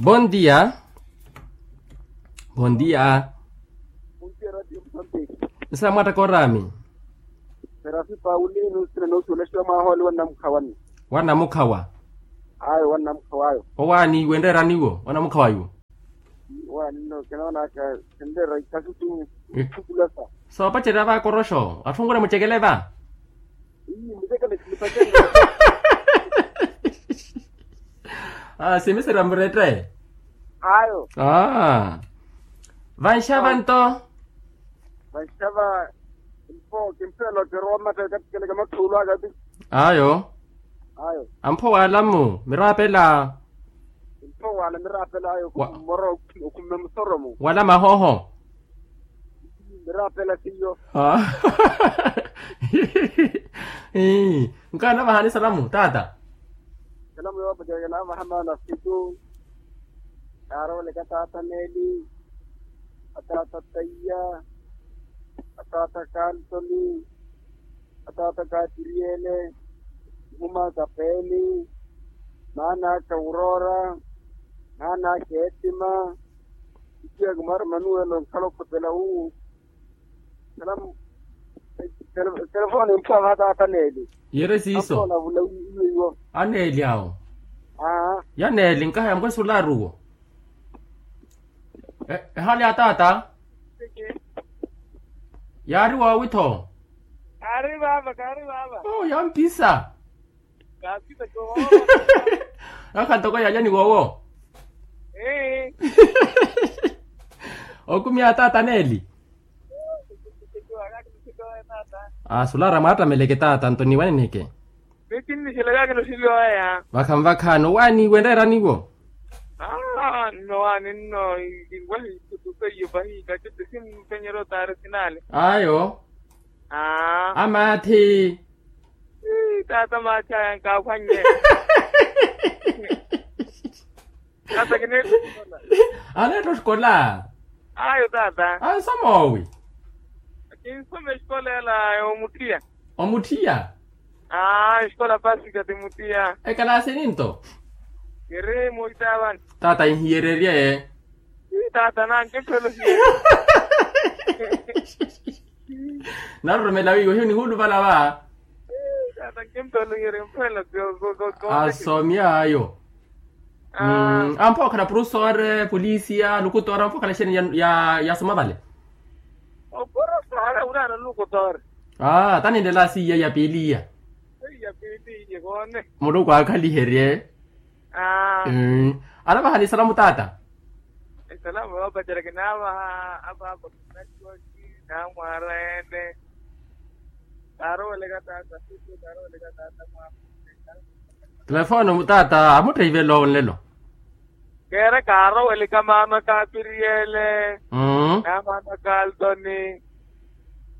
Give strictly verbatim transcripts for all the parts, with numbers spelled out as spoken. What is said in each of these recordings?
Bondia. Bondia. Nsa mwatta korami. Serafi paulino sina nosuwela siwa mwaha oli wannamukhawa ni. Wannamukhawa. Ayo wannamukhawa ayo. Owaani wenreerani wo wannamukhawa iwo. Owaani no kinoonaka. Kinreera ikasutu. Ithukulasa. Soopacerya va koroxo atthu onwira mucekele va. Ii mucekele. Simiserya murette. Ayo. Vanxava nto. Vanxava. Mpo kimphelo kirowa mmatta ekattikeleke matthuulu aka ti. Ayo. Ayo. Ampho wala mmu mirapela. Mpo wala mirapela ayo. Moro okhumme musoromo. Wala mahoho. Mirapela siyo. Nkaana vahani salamu tata. Salamu yoopacaka navaha maana fitu. Kaarooleka tata neli, atata taiya, atata kaltoni, atata katiriyele, mhuma kapeni, maana aka urora, maana aka etima. Itiya kumara manuwelo nkhala okhotela wu. Telefoni mphaha tata neli. Yere siiso. Aneeli awo. Yaneeli nkaha yamukwesu olaari uwo. Ehali ya tata. Yaari woowi tho. Kaari vava kaari vava. Yampisa. Kaapita kohoolo. Akha ntoko yalya ni wowo. Okumi a tata neeli. Asulaara mwaattameleke tata nto niwaneneke. Mikinniselaka kinosilyoya. Vakhanvakhani owaani wenreeraniwo. Nnowaani nno. Inkwahi ikutuka iyo pahi katete simpenyerya otaari sinale. Ayo. Amaathi. Tata maathi aya nkaaphwannye. Tata kineettha. Aneettha osikola. Ayo tata. Ansomoowi. Kinsoma esikola ela omuthiya. Omuthiya. Aa esikola pasika ti muthiya. Ekalaasi ninto. Kiri muitaavani. Tata inhiyererye. Tata nankimphela ohiyererye. Naroromela wiiwa hiyo nihuluvala va. Tata nkimphela ohiyererye mphela. Asomi ayo. Ampho okhala purusore polisiya lukutora ampho okhala exeeni ya soma vale. Opurusore wiraana lukutora. Aa taninlela siiya ya piiliya. Muluku aakhaliherye. Anavahani esalamu tata. Esalamu yoopacerya kinaavaha apaapa. Namwaara ene. Kaaroweleka tata. Telefoni tata amutteivelo nlelo. Keera kaaroweleka maana kapiriyele. Namaana kaltoni.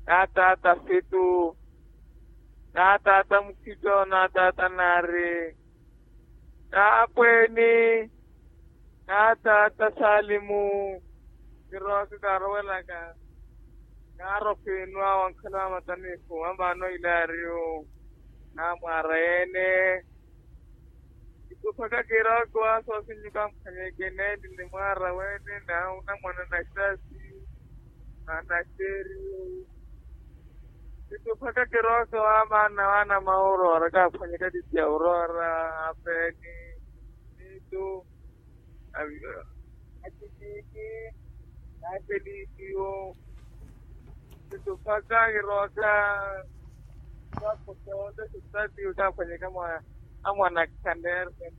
Natata fitu. Natata mukhito natata nari. Naapweeni. Naataata saalimu. Kirooka kaarowelaka. Naarofiinwa wankhala wa matanifu amaana oilaariyo. Namwaara yeene. Kituphaka kirooka waasoosinyuka mphwanyeke neeni ni mwaara weene. Naunamwana naxasi. Anaxeriyo. Kituphaka kirooka wa maana wa anamauroora kaaphwanyeke attitti ya uroora. Apeeni. Nitu. Atitiki. Naapelikiyo. Kituphaka kirooka. Kakosoonte sitatiyo kaaphwanyeke amwana. Amwana khandeerwe.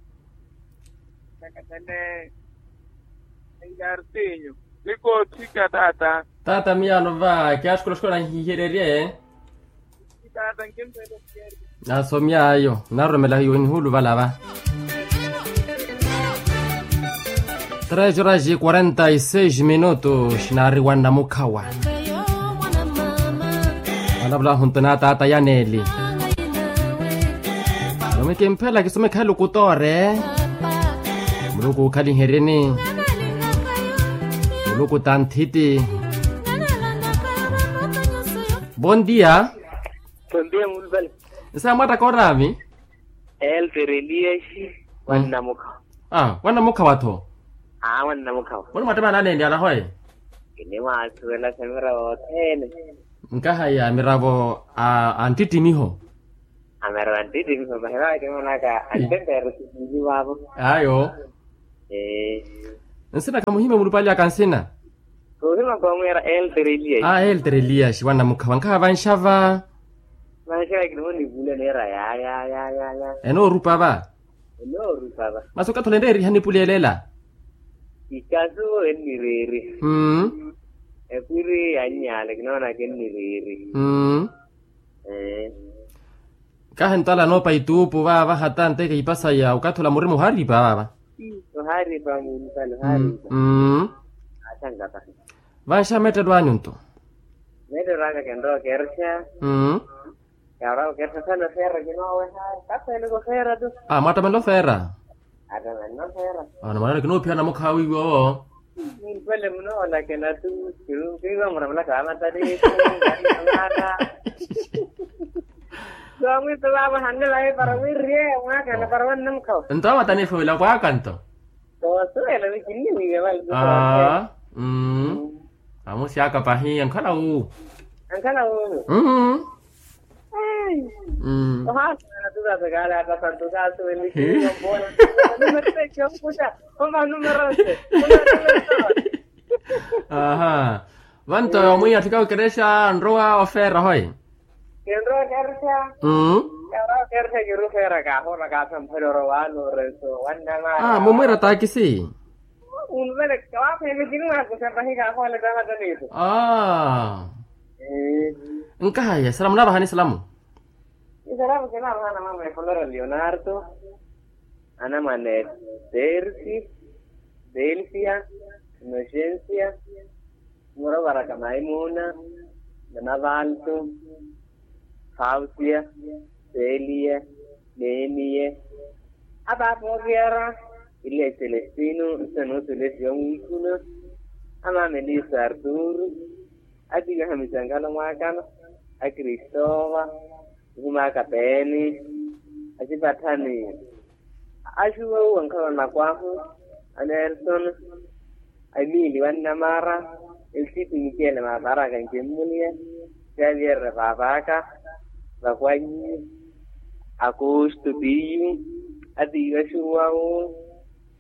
Nakatane. Engartinyo. Nikoothika tata. Tata miyaano va kiaxikola xikola nhihererye. Tata nkimphela. Nasomy'ayo naroromela hiyo nihuluvala va. Tres horas e quarenta e seis minutos naari wa namukhawa. Alavula ahunto na tata yaneeli. Nomwe kimphela kisomekha elukutoore. Muluku okhaliheryeni. Muluku tanthiti. Bon dia. Bon dia mulupale. Nsa mwattaka oraami. Elter eliyaxi. Wannamukha. Ah wannamukha watho. Aawe nnamukhawa. Muni mwattamaana aneenlyana hoye? Kinimwaasuwela sa miravo othene. Nkahaya miravo a nttittimiho. Amiravo a nttittimiho vahi vaakimonaka anttempeero sivili vaavo. Ayo. Ee. Nsina khamuhimya mulupalyaka nsina? Khuhimya khoomuwira elter elias. A elter elias wa nnamukhawa nkhaha vanxava. Vanxava kinimonipulela neera ya ya ya ya ya. Enoorupa va. Enoorupa va. Masi okathi ole nreeriha nipulelela? Ikasu ennireeriha. Mmm. Ekwiri yannyaale kinoonaka ennireeriha. Mmm. Ee. Kahi ntala noopa ituupu vaava hata nteke ipasaya okathi ola murima ohaaripa vaava. Ohaaripa muntala ohaaripa. Mmm. Asankapa. Vanxa meettelo anyu nto? Meettelo aka kenrowa okerxa. Mmm. Yaarawa okerxa sana ofeera kinooweha. Kakhweleke ofeera tu. Mwattamela ofeera? Attamela ofeera. Ana mwanana kinoophiya namukhawa wiiwa owo. Nintwele munoolakela tu. Kiiwa muramelaka wa matari. Soomwito vaavo hanne vaye para wirye mwaakana para wannamukhawa. Nto amatanifu wila kwaaka nto. Koosuwela wi kinniwiiwa vale. Amusi aka pahi ankhala wu. Ankhala wu. Ohaasana tukaasa kaale aka santu kaasuwelikiwa mpoola. Numero tekiwa nkuxa. Oma numero se. Aha. Vanto omwiya tthika okerexa nrowa ofeera hoye. Kinrowa okerexa. Mmm. Kinrowa okerexa kiri ofeera kaahoora kaasamphwela orowa nooreso wannamara. Mumwiira taakisi. Unvele kawakhwele kinimwakuxa pahi kaahoole tamataniso. Nkahaya salamu naavahani salamu. Isalamu kinaavahana mama efulora leonardo, anamwane tersi, delsia, inoxensia, murovaraka maimuna, nanavalto, fausia, selia, neemie, apaapa okiyara, iliya celestino nsanuusu lesiwa mwiikuna, amaama eliso arturu, atiiwaha misankalo mwaakana, akristoova, nihimaka peeni, asipatthani, axuwa uwo nkhalana kwahu, anerson, emiili wannamara, elsitu mikele maaparaka nkimmuliya, xavierre paapaka, vakwanyi, akustu tiyu, atiiwa axuwa wu,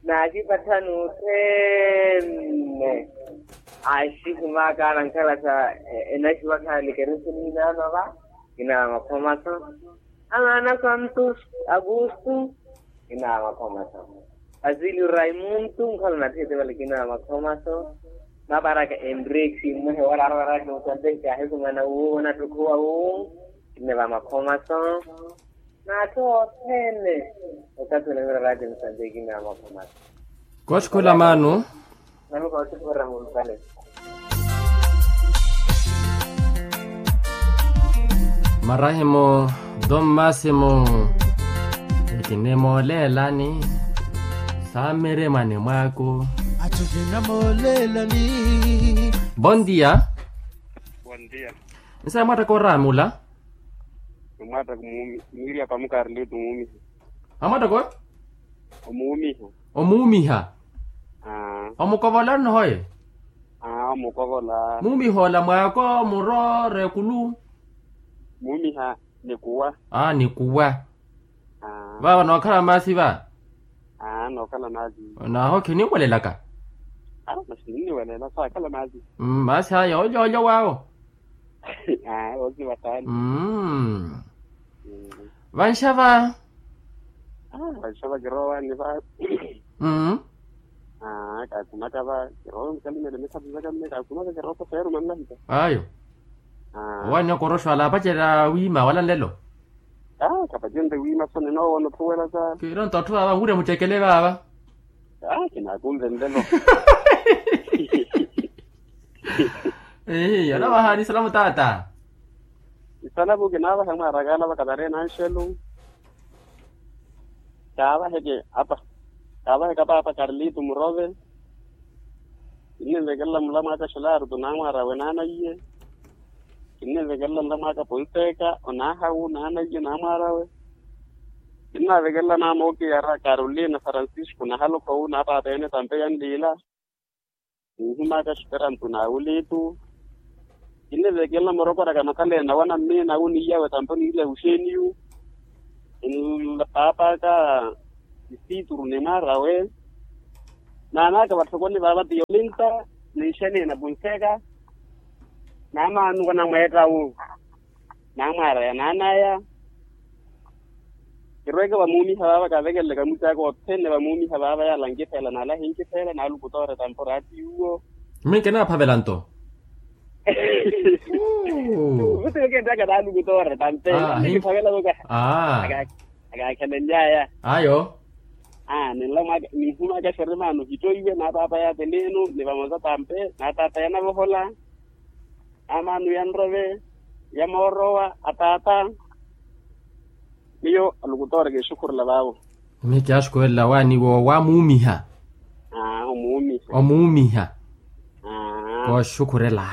naxipatthani othene, axihimaka nankhala sa enaxiwa khaali keresini naanova, kinawa makhomaso. Amaana santos, agusto, kinawa makhomaso. Asilio raimunto nkhala nathete vale kinawa makhomaso. Maparaka enriksi mwehe wararowaraki musanteki kahikumana wuwo nattukhuwa wu, kineva makhomaso. N'atthu othene okathi onamirarati musanteki kinawa makhomaso. Kootthukhula maanu. Marahimu, don masimo, ekinimooleelani, saamiremwani mwaaku. Atthu kinamooleelani. Bon dia. Bon dia. Nsayi mwaattaka oraamula. Mwaattaka omuumi mwirya pamuka arilitu omuumi. Amwattaka oyo? Omuumiha. Omuumiha. Omukovola nnohoye? Omukovola. Muumihoola mwaako muro rekulu. Muumiha nikuwa. Nikuwa. Vaava nookhala maasi va? Nookhala maasi. Naaho khiniwelelaka. Masi ninniwelela saakhala maasi. Maasi aya olyoolyo waawo. Aa oosiva saani. Mmm. Vanxava. Vanxava kirowa niva. Mmm. Aa kaakumaka va kirowa nkalimele mikhapi zaka mme kaakumaka kirowa sofeeru mannahita. Ayo. Owannya okoroxo ala apacerya wiima wala nlelo. Aa kapacerya wiima soni noowona othuwela sa. Kiro nto atthu vaava anwirya mucekele vaava. Aa kinaakunve nlelo. Ehi anavahaani isalamu taata. Isalamu kinaavaha mwaarakaana vakatari enanxelu. Kaavaheke apa. Kaavaheke apa apa karlito murove. Kinnivekelela mulamwaaka xelarutu naamwaarawe naanaiye. Kinnivekelela mulamwaaka ponteka onaahawu naanaiye naamwaarawe. Kinnavekelela maama okiyara carolina francisco nahalokhowu naapaapeene tampe yanliila. Ninhimaka xiterantu na ulitu. Kinnivekelela morokoraka makhaleena wana mmiina wu niiyawe tampe niirya wuxeeniyu. Npaapaka isituru ni mwaarawe. Naanaka vatthokoni vaava tiyolinta ninxeneena punseka. Naamaanuka namweetta wu naamwaaraya naanaya. Kirweke vamuumiha vaava kavekeleleke amucaaka othene vamuumiha vaava yaala nkipheela naala hinkipheela naalukutoore tampe oraati yuwo. Mminke naaphavela nto. Vuti okenttaka naalukutoore tampe. Kiphavela voka. Akaakhelenlyaya. Ayo. Ninla mwaka ninhumaka xeremaano hitoiwe naataataya teniinu ni vamosa tampe naataataya navohola. Amaano ya nrove ya moorowa ataata. Miyo alukutoora kinxukhurela vaavo. Miyo kiyaaxukuwelela waani wo wamuumiha. Omuumiha. Omuumiha. Kooxukhurela.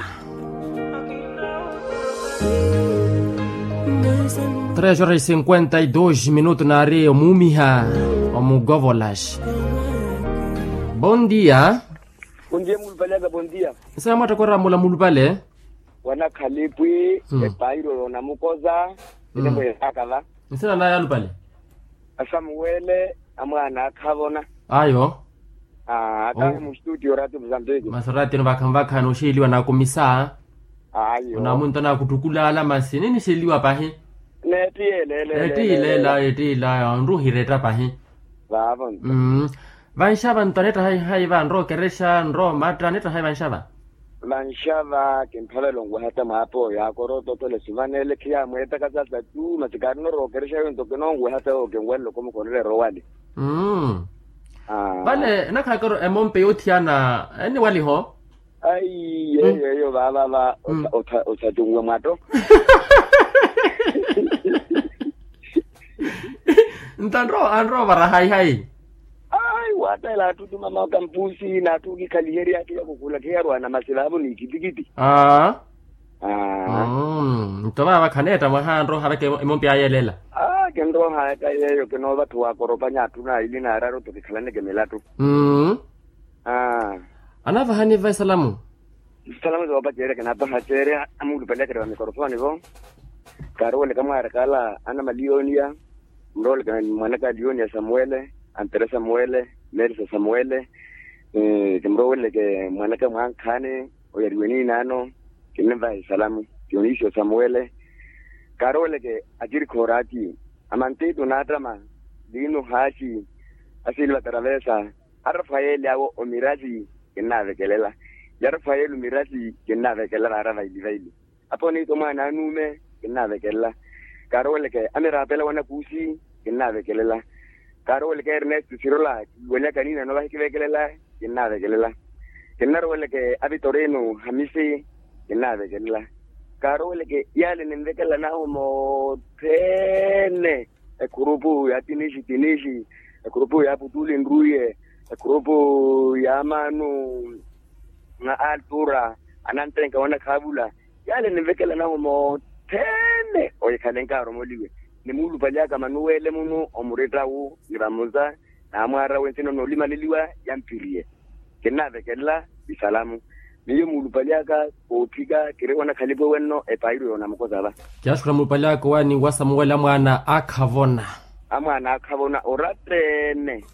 Tres horas e cinquenta e dois minuto naari omuumiha. Omugovolaxi. Bon dia. Bon dia mulupale aka bon dia. Nsina mwattokorya mula mulupale. Wanakhalipwi. Epairo yonamukoza. Ene mweeraka va. Nsina naya alupale. Asamuwele amwaana akhavona. Ayo. Aa atahe mu studio oraati muzambiki. Masi oraati eno vakha mvakha nooxeeliwa nakumisa. Ayo onamunto naakuttukulaala masi ninixeeliwa pahi. Neettiyeeleela. Eettiyileela eettiyileela onruhiretta pahi. Vaavo nto. Vanxava nto aneetta hayi hayi va nrowa okerexa nrowa omatta aneetta hayi vanxava. Vanxava kimphavela onweha ata mwaapoyo akorototole sivaneele khiyamweetaka sasa tu masi kaari norowa okerexa yonto kinonweha ata yookinwelela okomukhorela erowali. Vale enakhalaka ori emompe yoothiyana eniwaliho. Ayi yeyo eyo vaavava. Othatunwe mwato. Nto anrowa anrowa ovara hayi hayi. Ayi waatela atthu tumama okampusi n'atthu okikhaliherya khiyakukhula khiyarwana masi vaavo n'ikittikiti. Aa. Nto vaava khaneetta mwaha anroha vaka emompi ayelela. Kinroha ata yeeyo kinoovatthuwa akoropanya atthu naili naararu tto kikhalaneke milattu. Anaavahani va esalamu. Esalamu zoopacerya kinaapaha ceerya amuulupaliyaka va mikorofoni vo. Kaaruweleka mwaaraka ala ana maliyoniya. Mrooleke mwanaka aliyoniya samuwele, antere samuwele, merisa samuwele. Kimrooweleke mwanaka mwankhaani oyariwe niinaano. Kinnimvaha esalamu. Dionisio samuwele. Kaarooweleke akirikha oraati. Amantiitu naattama. Liinu haaxi. Asili vataraveesa. Arafayeli awo omirasi. Kinnaavekelela. Yarafayeli omirasi. Kinnaavekelela vaara vaili vaili. Apo niitu omwaana anuume. Kinnaavekelela. Kaarooweleke amirapela wanakuusi. Kinnaavekelela. Kaarooweleke ernesto sirola kiwanyaka niinano vahikivekelela. Kinnaavekelela. Kinnarooweleke avitorino hamisi. Kinnaavekelela. Kaarooweleke yaale ninvekelela nahu moothene. Ekhurupu ya tinixi tinixi. Ekhurupu ya putuli nruye. Ekhurupu ya maanu. Altura anantenka wanakhaavula. Yaale ninvekela nahu moothene ohikhale nkaaromoliwe. Nimuulupali aka manuwele munu omuretta wu ni vamuza. Naamwaara wensina onoolimaleliwa. Yamphiriye. Kinnaavekelela. Isalamu. Miyo muulupali aka. Koophika kiri wanakhalipa wenno epairo yoonamukoza va. Kiyaaxukhula muulupali aka owaani wa samuwele amwaana akhavona. Amwaana akhavona orattene.